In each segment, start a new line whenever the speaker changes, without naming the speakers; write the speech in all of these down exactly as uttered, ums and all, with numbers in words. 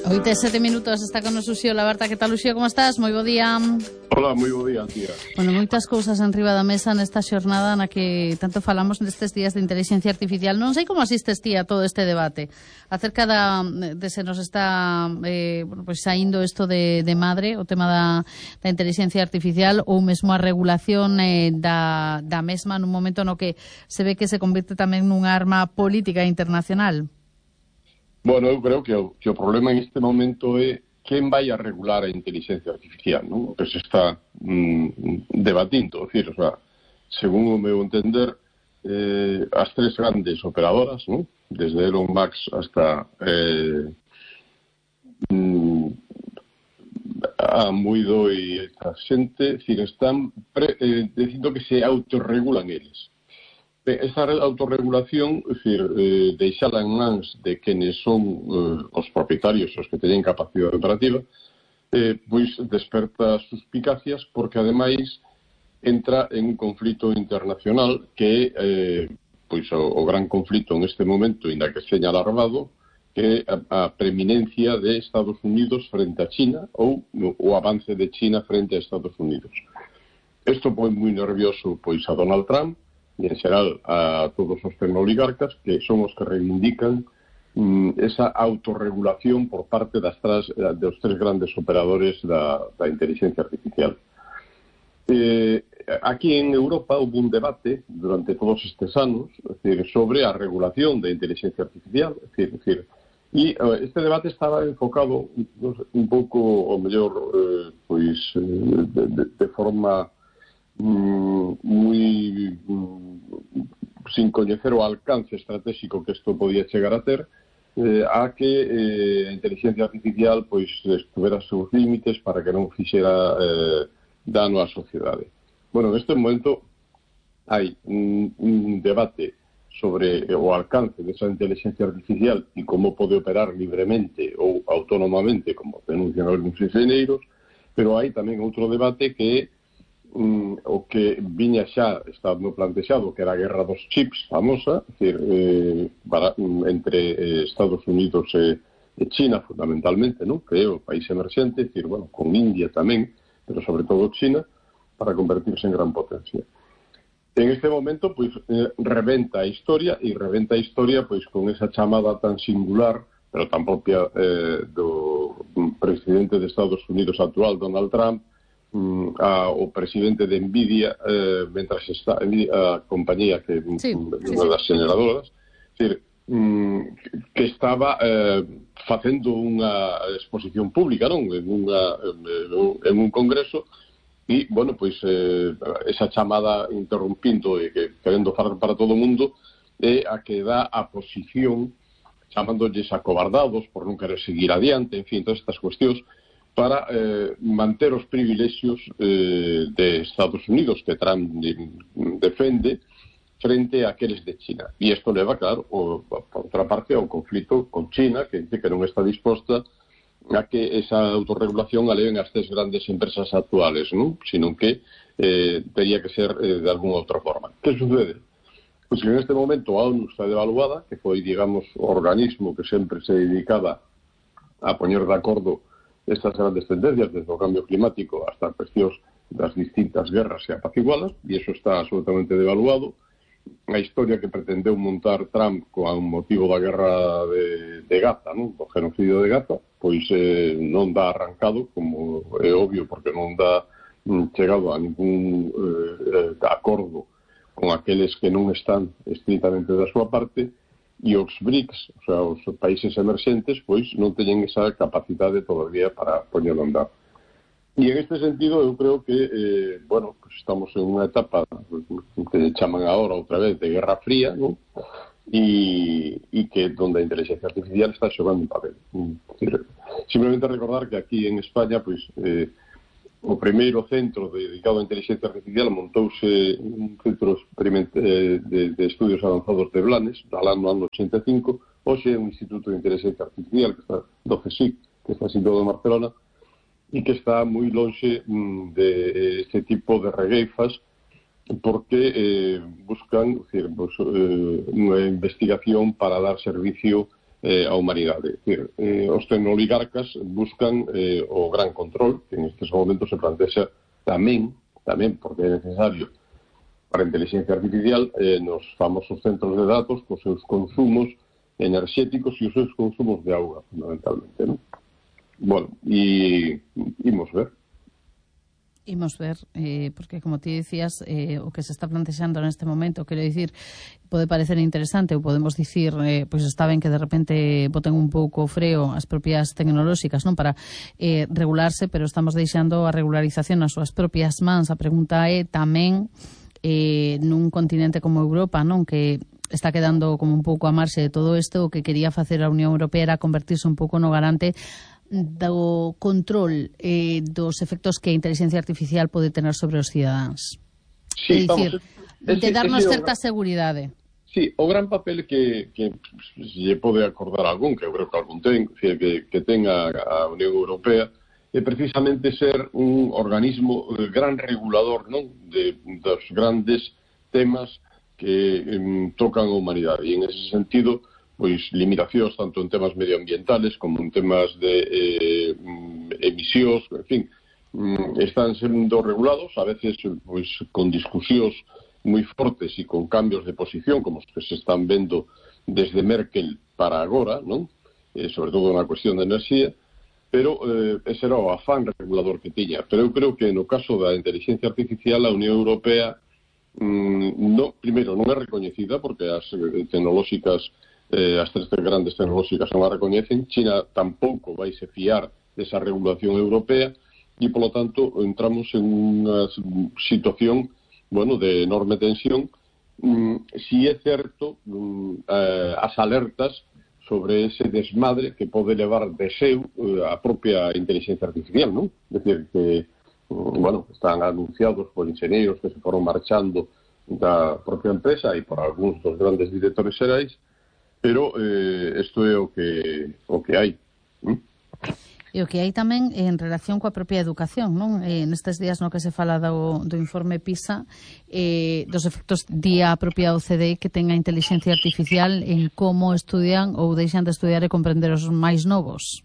Oito e sete minutos, está con nos Uxío Labarta. Que tal, Uxío, como estás? Moi bo día.
Hola, moi bo día, tía.
Bueno, moitas cousas en riba da mesa nesta xornada na que tanto falamos nestes días de inteligencia artificial. Non sei como asistes, tía, a todo este debate acerca da, de se nos está eh, bueno, pues, saindo isto de, de madre, o tema da, da inteligencia artificial, ou mesmo a regulación eh, da, da mesma nun momento no que se ve que se convirte tamén nunha arma política internacional.
Bueno, eu creo que o, que o problema en este momento é quen vai a regular a inteligencia artificial, non? O que se está mm, debatindo, decir, o sea, según o meu entender, eh, as tres grandes operadoras, non? Desde Elon Musk hasta eh, mm, a Muido e esta xente, decir, están pre, eh, dicindo que se autorregulan eles. Esa autorregulación, es decir, eh, deixala en mans de quenes son eh, os propietarios, os que teñen capacidade operativa, eh, pois desperta suspicacias porque, ademais, entra en un conflito internacional que é eh, pois o, o gran conflito en este momento, ainda que seña alarmado, que é a, a preeminencia de Estados Unidos frente a China ou o avance de China frente a Estados Unidos. Isto pon moi nervioso pois a Donald Trump, e en xeral a todos os tecnooligarcas, que son os que reivindican mm, esa autorregulación por parte das tras, dos tres grandes operadores da, da inteligencia artificial. Eh, aquí en Europa hubo un debate durante todos estes anos, es decir, sobre a regulación da inteligencia artificial, es decir, es decir e uh, este debate estaba enfocado no sé, un pouco, o mellor, eh, pois, eh, de, de, de forma Mm, moi mm, sin coñecer o alcance estratégico que isto podía chegar a ter, eh, a que eh, a inteligencia artificial pois estuvera a seus límites para que non fixera eh, dano á sociedade. Bueno, neste momento hai un, un debate sobre o alcance desa inteligencia artificial e como pode operar libremente ou autónomamente, como denuncian algúns enxeñeiros, pero hai tamén outro debate que é Mm, o que viña xa estando plantexado, que era a guerra dos chips famosa, es decir, eh, para, mm, entre eh, Estados Unidos e, e China fundamentalmente, ¿no? Que é o país emerxente, es decir, bueno, con India tamén, pero sobre todo China, para convertirse en gran potencia. En este momento, pois, eh, reventa a historia, e reventa a historia pois con esa chamada tan singular, pero tan propia eh, do presidente de Estados Unidos actual, Donald Trump, A, o presidente de Nvidia, eh, mentras está a compañía que
sí,
unha
sí,
das generadoras, decir, mm, que estaba eh, facendo unha exposición pública, non? En, unha, en un congreso, e, bueno, pois eh, esa chamada interrumpindo e que querendo falar para todo o mundo é a que dá a posición chamándolles acobardados por non querer seguir adiante, en fin, todas estas cuestións para eh, manter os privilexios eh, de Estados Unidos que Trump defende frente a aqueles de China. E isto leva, claro, o, por outra parte, ao conflito con China, que dice que non está disposta a que esa autorregulación a leven as tres grandes empresas actuales, non? Sino que eh, teria que ser eh, de alguna outra forma. Que sucede? Pois que en este momento a ONU está devaluada, que foi, digamos, o organismo que sempre se dedicaba a poñer de acordo estas grandes tendencias, desde o cambio climático hasta as cuestións das distintas guerras e apacigualas, e iso está absolutamente devaluado. A historia que pretendeu montar Trump con motivo da guerra de, de Gaza, non? Do genocidio de Gaza, pois eh, non dá arrancado, como é obvio, porque non dá mm, chegado a ningún eh, acordo con aqueles que non están estritamente da súa parte, e os BRICS, o sea, os países emerxentes, pois non teñen esa capacidade todavía para poñelo a andar. E en este sentido eu creo que, eh, bueno, pues estamos en unha etapa que chaman agora outra vez de Guerra Fría, non? E, e que donde a inteligencia artificial está xogando un papel. Simplemente recordar que aquí en España, pois, eh, o primeiro centro dedicado a inteligencia artificial montouse un centro de, de, de estudios avanzados de Blanes, no ano ochenta e cinco, hoxe é un instituto de inteligencia artificial que está do CSIC, que está situado en Barcelona, e que está moi lonxe de este tipo de regueifas, porque eh, buscan decir, pues, eh, unha investigación para dar servicio eh, a humanidade. É dicir, eh, os tecnoligarcas buscan eh, o gran control, que en estes momentos se plantexa tamén, tamén porque é necesario para a inteligencia artificial, eh, nos famosos centros de datos, cos seus consumos enerxéticos e os seus consumos de auga, fundamentalmente, non? Bueno, e imos ver.
Imos ver, eh, porque como ti dicías, eh, o que se está plantexando neste momento, quero dicir, pode parecer interesante, ou podemos dicir, eh, pois está ben que de repente boten un pouco o freo as propias tecnolóxicas, non, para eh, regularse, pero estamos deixando a regularización nas súas propias mans. A pregunta é tamén eh, nun continente como Europa, non, que está quedando como un pouco a marxe de todo isto, o que quería facer a Unión Europea era convertirse un pouco no garante do control eh, dos efectos que a inteligencia artificial pode tener sobre os cidadáns.
Sí,
é dicir,
vamos,
de darnos
ese,
certa seguridade.
Sí, o gran papel que, que lle pode acordar algún, que eu creo que algún ten, que, que ten a, a Unión Europea, é precisamente ser un organismo gran regulador, non, de, dos grandes temas que um, tocan a humanidade. E en ese sentido, pois limitacións tanto en temas medioambientales como en temas de eh, emisións, en fin, están sendo regulados, a veces pois con discusións moi fortes e con cambios de posición, como os que se están vendo desde Merkel para agora, non? Eh, sobre todo na cuestión de enerxía, pero eh, ese era o afán regulador que tiña. Pero eu creo que no caso da inteligencia artificial a Unión Europea mm, no, primeiro non é recoñecida porque as eh, tecnolóxicas Eh, as tres grandes tecnolóxicas non a recoñecen. China tampouco vai se fiar desa regulación europea e, polo tanto, entramos en unha situación, bueno, de enorme tensión. Mm, si é certo mm, eh, as alertas sobre ese desmadre que pode levar de seu eh, a propia inteligencia artificial, non? É dicir, que, mm, bueno, están anunciados por inxenieros que se foron marchando da propia empresa e por algúns dos grandes directores xerais. Pero eh, isto é o que o que hai. ¿Mm?
E o que hai tamén en relación coa propia educación, non? Eh, nestes días no que se fala do, do informe PISA, eh, dos efectos día a propia O C D E que ten a inteligencia artificial en como estudian ou deixan de estudiar e comprender os máis novos.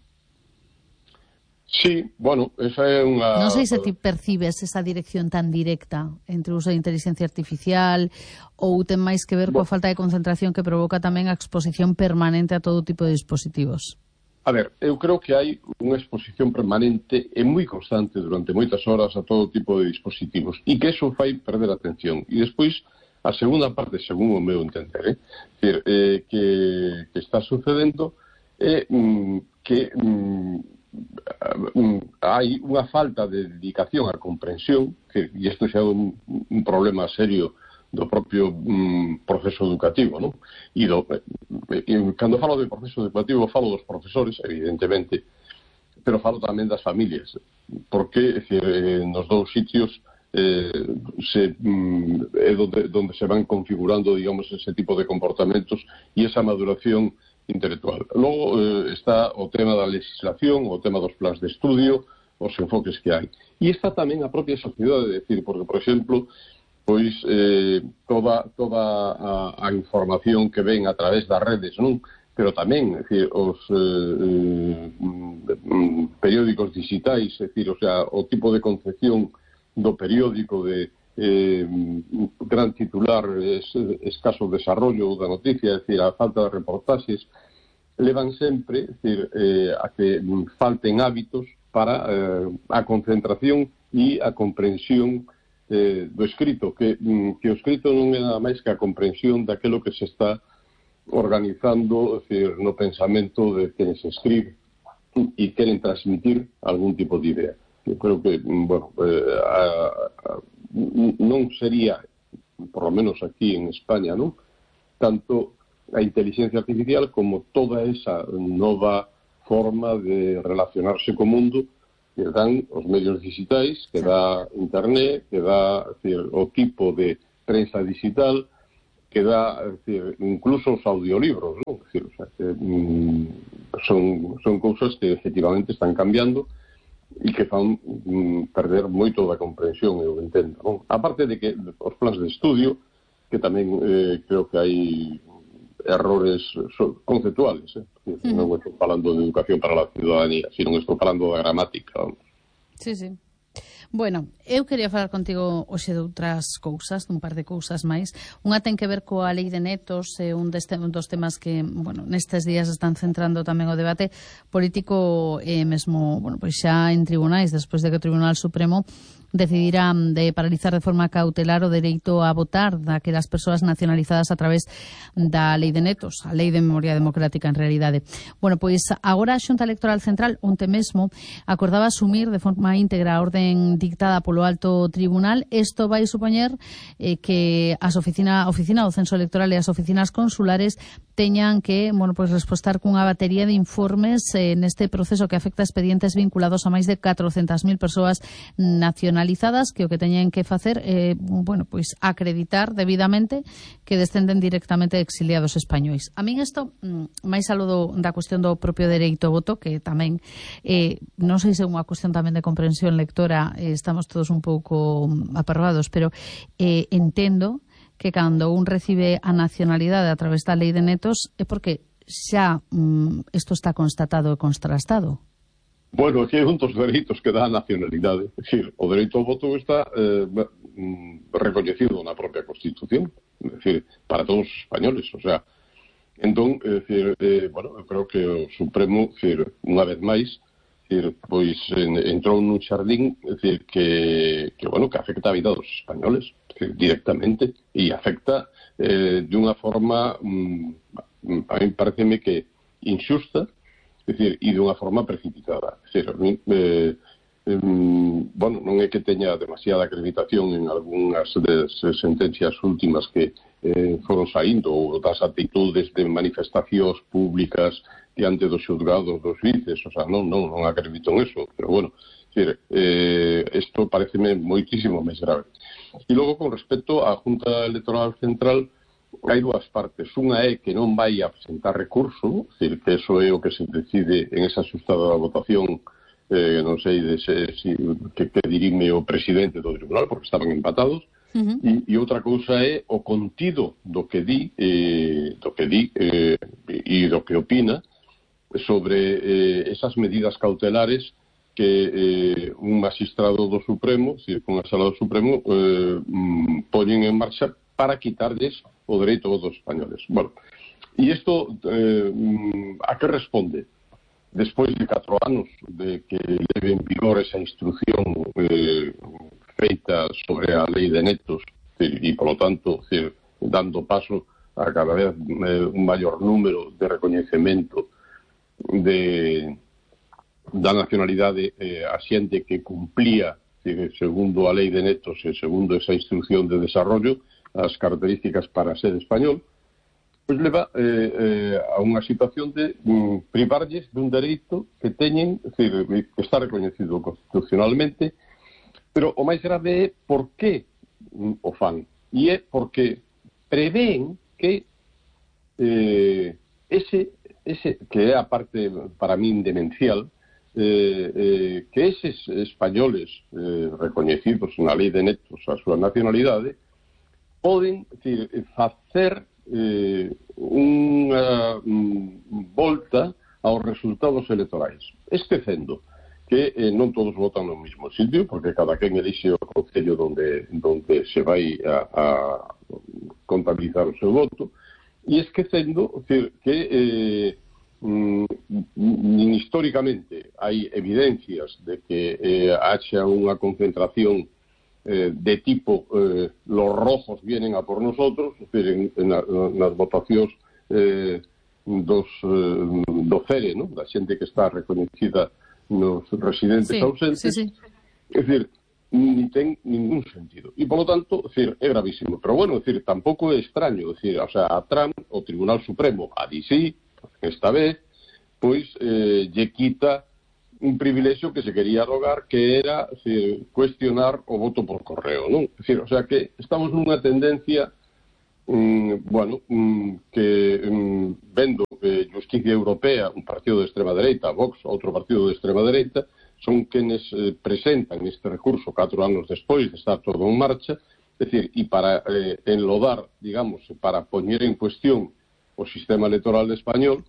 Sí, bueno, esa é unha...
Non sei se ti percibes esa dirección tan directa entre o uso de inteligencia artificial ou ten máis que ver coa falta de concentración que provoca tamén a exposición permanente a todo tipo de dispositivos.
A ver, eu creo que hai unha exposición permanente e moi constante durante moitas horas a todo tipo de dispositivos e que eso fai perder a atención. E despois, a segunda parte, según o meu entender, eh, que, eh, que, que está sucedendo é mm, que... Mm, hai unha falta de dedicación á comprensión, que, e isto xa é un, un problema serio do propio um, proceso educativo, non? E, do, e cando falo de proceso educativo falo dos profesores, evidentemente, pero falo tamén das familias, porque decir, nos dous sitios eh, se, mm, é donde, donde se van configurando, digamos, ese tipo de comportamentos e esa maduración intelectual. Logo eh, está o tema da legislación, o tema dos plans de estudio, os enfoques que hai. E está tamén a propia sociedade, decir, porque, por exemplo, pois eh, toda, toda a, a información que ven a través das redes, non? Pero tamén, decir, os eh, eh, periódicos digitais, decir, o sea, o tipo de concepción do periódico de eh, gran titular, es, escaso desarrollo da noticia, es decir, a falta de reportaxes, levan sempre, es decir, eh, a que falten hábitos para eh, a concentración e a comprensión eh, do escrito, que, que o escrito non é nada máis que a comprensión daquelo que se está organizando, es decir, no pensamento de quen se escribe e queren transmitir algún tipo de idea. Eu creo que, bueno, eh, a, a, non sería, por lo menos aquí en España, ¿no?, tanto a inteligencia artificial como toda esa nova forma de relacionarse co mundo que dan os medios digitais, que dá internet, que dá, decir, o tipo de prensa digital, que dá, decir, incluso os audiolibros, ¿no? Decir, o sea, que, mm, son, son cousas que efectivamente están cambiando e que fan mm, perder moito da comprensión, eu entendo, non? A parte de que os plans de estudio, que tamén eh, creo que hai errores conceptuales, eh? Uh-huh. Non estou falando de educación para a ciudadanía, sino estou falando da gramática, vamos.
Sí, sí. Bueno, eu quería falar contigo hoxe de outras cousas, dun par de cousas máis. Unha ten que ver coa lei de netos, é un, deste, un dos temas que, bueno, nestes días están centrando tamén o debate político e eh, mesmo, bueno, pois xa en tribunais, despois de que o Tribunal Supremo decidirá de paralizar de forma cautelar o dereito a votar daquelas persoas nacionalizadas a través da lei de netos, a lei de memoria democrática en realidade. Bueno, pois agora a Xunta Electoral Central onte mesmo acordaba asumir de forma íntegra a orden dictada polo alto tribunal. Isto vai supoñer eh, que as oficina, a oficina do censo electoral e as oficinas consulares teñan que, bueno, pois respostar cunha batería de informes eh, neste proceso que afecta a expedientes vinculados a máis de catrocentas mil persoas nacionalizadas, que o que teñen que facer é, eh, bueno, pois acreditar debidamente que descenden directamente de exiliados españois. A min isto, máis aló do, da cuestión do propio dereito ao voto, que tamén eh, non sei se é unha cuestión tamén de comprensión lectora, eh, estamos todos un pouco apervados, pero eh, entendo que cando un recibe a nacionalidade a través da lei de netos é porque xa mm, isto está constatado e contrastado.
Bueno, aquí hai un dos dereitos que dá a nacionalidade. É dicir, o dereito ao voto está eh, recoñecido na propia Constitución, é dicir, para todos os españoles. O sea, entón, é dicir, eh, bueno, eu creo que o Supremo, é dicir, unha vez máis, é dicir, pois en, entrou nun xardín, é dicir, que, que, bueno, que afecta a vida dos españoles, é dicir, directamente, e afecta eh, de unha forma, mm, a mí pareceme que injusta, é dicir, e dunha forma precipitada. É dicir, eh, eh, bueno, non é que teña demasiada acreditación en algunhas das sentencias últimas que eh, foron saindo, ou das actitudes de manifestacións públicas diante dos xulgados dos juíces, o sea, non, non, non acredito en eso, pero bueno, é dicir, eh, isto pareceme moitísimo máis grave. E logo, con respecto á Junta Electoral Central, hai dúas partes. Unha é que non vai a presentar recurso, é dicir, que eso é o que se decide en esa xustada votación, eh, non sei de se, si, que, que dirime o presidente do tribunal, porque estaban empatados, uh-huh. e, e outra cousa é o contido do que di, eh, do que di eh, e do que opina sobre eh, esas medidas cautelares que eh, un magistrado do Supremo, é dicir, unha sala do Supremo, eh, mm, poñen en marcha para quitarles o dereito dos españoles. Bueno, e isto eh, a que responde? Despois de catro anos de que leve en vigor esa instrucción eh, feita sobre a lei de netos e, polo tanto, decir, dando paso a cada vez eh, un maior número de recoñecemento de, da nacionalidade eh, a xente que cumplía, decir, segundo a lei de netos e segundo esa instrucción de desarrollo, as características para ser español, pois leva eh, eh, a unha situación de mm, privarlles dun dereito que teñen, é dicir, que está reconhecido constitucionalmente, pero o máis grave é por que mm, o fan. E é porque prevén que eh, ese, ese, que é a parte para min demencial, eh, eh, que eses españoles eh, recoñecidos na lei de netos a súa nacionalidade poden, decir, facer eh, unha mm, volta aos resultados electorais, esquecendo que eh, non todos votan no mesmo sitio, porque cada quen elixe o concello donde, donde se vai a, a contabilizar o seu voto, e esquecendo, decir, que eh, mm, históricamente hai evidencias de que eh, haxa unha concentración Eh, de tipo eh, los rojos vienen a por nosotros, es decir, en, en, la, en las votacións eh, dos, eh, do C E R E, ¿no? Da xente que está reconhecida nos residentes
sí,
ausentes,
sí, sí.
Es decir, ni ten ningún sentido. E, polo tanto, es decir, é gravísimo. Pero, bueno, es decir, tampouco é extraño, es decir, o sea, a Trump, o Tribunal Supremo, a D C, esta vez, pois, eh, lle quita un privilexio que se quería rogar, que era, decir, cuestionar o voto por correo, non? É dicir, o sea, que estamos nunha tendencia, mm, bueno, mm, que mm, vendo que Justicia Europea, un partido de extrema dereita, Vox, outro partido de extrema dereita, son quenes eh, presentan este recurso catro anos despois de estar todo en marcha, é dicir, e para eh, enlodar, digamos, para poñer en cuestión o sistema electoral español,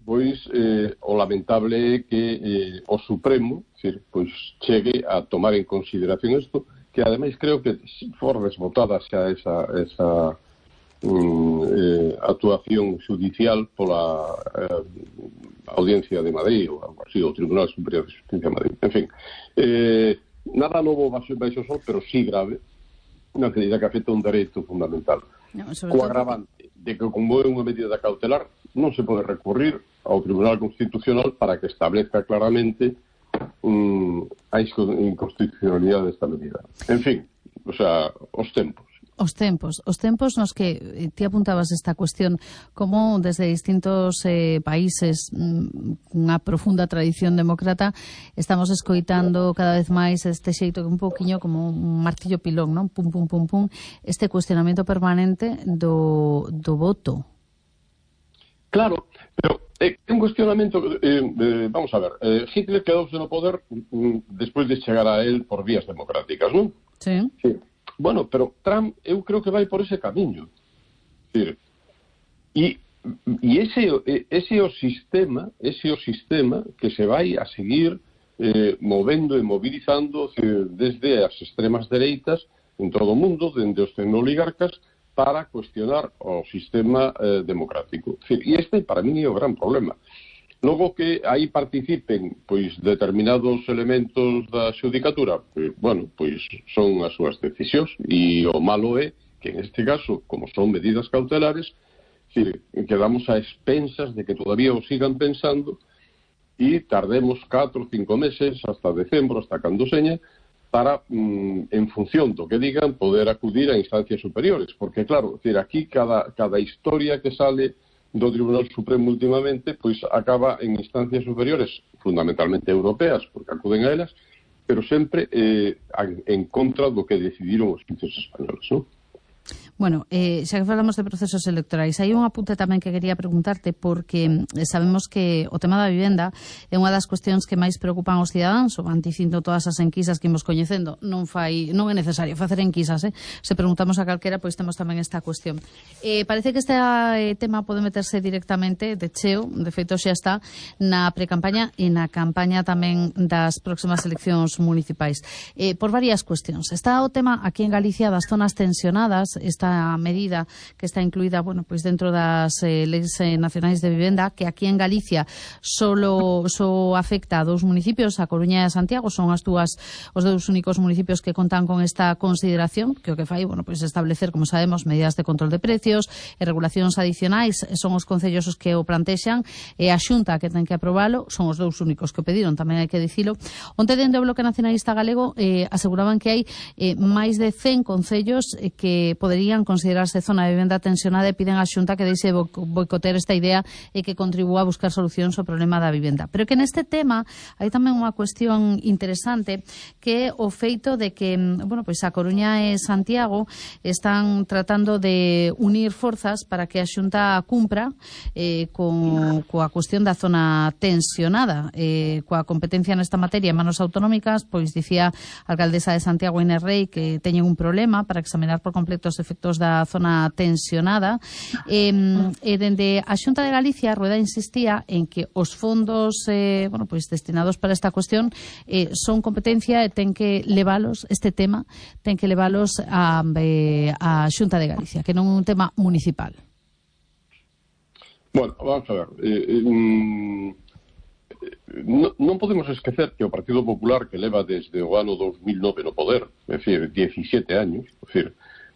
pois eh, o lamentable é que eh, o Supremo, decir, pois chegue a tomar en consideración isto, que ademais creo que for desbotada xa esa, esa um, eh, actuación judicial pola eh, Audiencia de Madrid ou algo así, o Tribunal Superior de Justicia de Madrid. En fin, eh, nada novo baixo o sol, pero sí grave, na medida que afecta un dereito fundamental. No, co agravante de que, como é unha medida cautelar, non se pode recurrir ao Tribunal Constitucional para que establezca claramente um, a inconstitucionalidade desta medida. En fin, o sea, os tempos.
Os tempos, os tempos nos que ti apuntabas esta cuestión, como desde distintos eh, países unha profunda tradición demócrata estamos escoitando cada vez máis este xeito que un pouquiño como un martillo pilón, non? Pum, pum, pum, pum, este cuestionamento permanente do, do voto.
Claro, pero é eh, un cuestionamento, eh, eh, vamos a ver, eh, Hitler quedouse no poder mm, despois de chegar a él por vías democráticas, non?
Sí.
Sí. Bueno, pero Trump eu creo que vai por ese camiño. E, e ese, ese o sistema, ese o sistema que se vai a seguir eh, movendo e mobilizando desde as extremas dereitas en todo o mundo, dende os tecnoligarcas, para cuestionar o sistema eh, democrático. E este, para mí, é o gran problema. Logo que aí participen pois determinados elementos da xudicatura, pois, bueno, pois son as súas decisións, e o malo é que en este caso, como son medidas cautelares, decir, quedamos a expensas de que todavía o sigan pensando e tardemos catro ou cinco meses hasta decembro, hasta cando seña, para, mm, en función do que digan, poder acudir a instancias superiores. Porque, claro, decir, aquí cada, cada historia que sale do Tribunal Supremo últimamente, pois acaba en instancias superiores, fundamentalmente europeas, porque acuden a elas, pero sempre eh, en contra do que decidiron os juíces españoles, non?
Bueno, eh, xa que falamos de procesos electorais, hai un apunte tamén que quería preguntarte, porque sabemos que o tema da vivenda é unha das cuestións que máis preocupan aos cidadáns, o van dicindo todas as enquisas que imos coñecendo. Non fai, non é necesario facer enquisas, eh? Se preguntamos a calquera, pois temos tamén esta cuestión. Eh, parece que este eh, tema pode meterse directamente de cheo, de feito xa está, na precampaña e na campaña tamén das próximas eleccións municipais. Eh, por varias cuestións. Está o tema aquí en Galicia das zonas tensionadas, esta medida que está incluída, bueno, pois dentro das eh, leis eh, nacionais de vivenda, que aquí en Galicia solo so afecta a dous municipios, a Coruña e a Santiago, son as dúas os dous únicos municipios que contan con esta consideración, que o que fai, bueno, pois establecer, como sabemos, medidas de control de precios e regulacións adicionais, son os concellos os que o plantexan, e a Xunta que ten que aprobalo, son os dous únicos que o pediron, tamén hai que dicilo. Onte dende o Bloque Nacionalista Galego eh, aseguraban que hai eh, máis de cen concellos eh, que poderían considerarse zona de vivenda tensionada e piden á Xunta que deixe boicotear esta idea e que contribúa a buscar solucións ao problema da vivenda. Pero que neste tema hai tamén unha cuestión interesante, que é o feito de que, bueno, pois a Coruña e Santiago están tratando de unir forzas para que a Xunta cumpra eh, con, coa cuestión da zona tensionada, eh, coa competencia nesta materia en manos autonómicas. Pois dicía a alcaldesa de Santiago, Inés Rei, que teñen un problema para examinar por completo os efectos da zona tensionada. E, e dende a Xunta de Galicia, Rueda insistía en que os fondos eh, bueno, pois destinados para esta cuestión eh, son competencia e ten que levalos, este tema, ten que levalos a, eh, a Xunta de Galicia, que non é un tema municipal.
Bueno, vamos a ver. Eh, eh, non, non podemos esquecer que o Partido Popular, que leva desde o ano dos mil nove no poder, é dicir, diecisiete años, é dicir,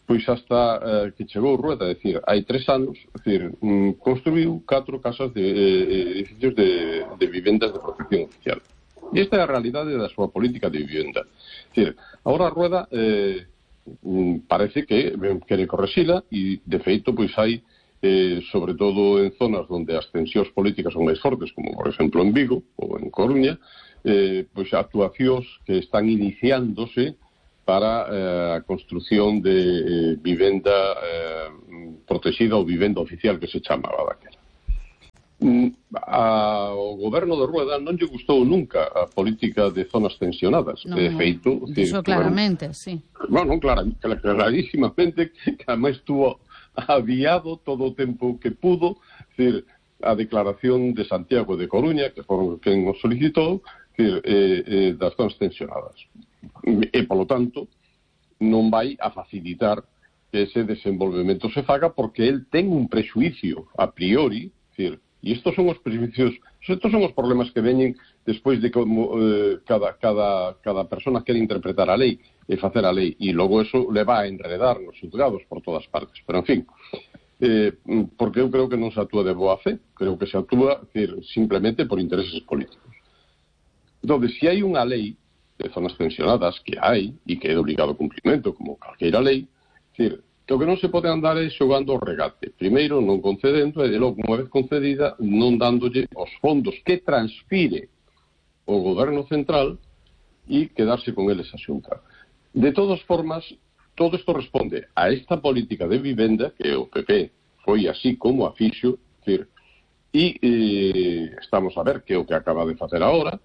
pois hasta eh, que chegou Rueda, é dicir, hai tres anos, é dicir, mm, construiu catro casas de eh, edificios de, de vivendas de protección oficial. E esta é a realidade da súa política de vivenda. É dicir, agora Rueda eh, parece que quere correxila e, de feito, pois hai, eh, sobre todo en zonas onde as tensións políticas son máis fortes, como, por exemplo, en Vigo ou en Coruña, eh, pois actuacións que están iniciándose para eh, a construción de eh, vivenda eh, protegida ou vivenda oficial, que se chamaba daquela. Mm, ao goberno de Rueda non lle gustou nunca a política de zonas tensionadas.
No,
de feito,
iso claramente, bueno, sí.
Bueno, clar, clarísimamente, que además tuvo adiado todo o tempo que pudo, decir, a declaración de Santiago de Coruña, que foron quen o solicitou, decir, eh, eh, das zonas tensionadas. E, polo tanto, non vai a facilitar que ese desenvolvemento se faga porque el ten un prexuicio a priori, decir, e estos son os prejuicios, estos son os problemas que veñen despois de como eh, cada, cada, cada persona quere interpretar a lei e facer a lei, e logo eso le va a enredar nos juzgados por todas partes. Pero, en fin, eh, porque eu creo que non se actúa de boa fe, creo que se actúa decir, simplemente por intereses políticos. Entón, se hai unha lei de zonas tensionadas, que hai, e que é de obligado cumprimento, como calqueira lei, decir, que o que non se pode andar é xogando o regate. Primeiro, non concedendo, e de logo, unha vez concedida, non dándolle os fondos que transfire o goberno central e quedarse con eles a xunta. De todas formas, todo isto responde a esta política de vivenda, que o P P foi así como a fixo, decir, e eh, estamos a ver que é o que acaba de facer agora,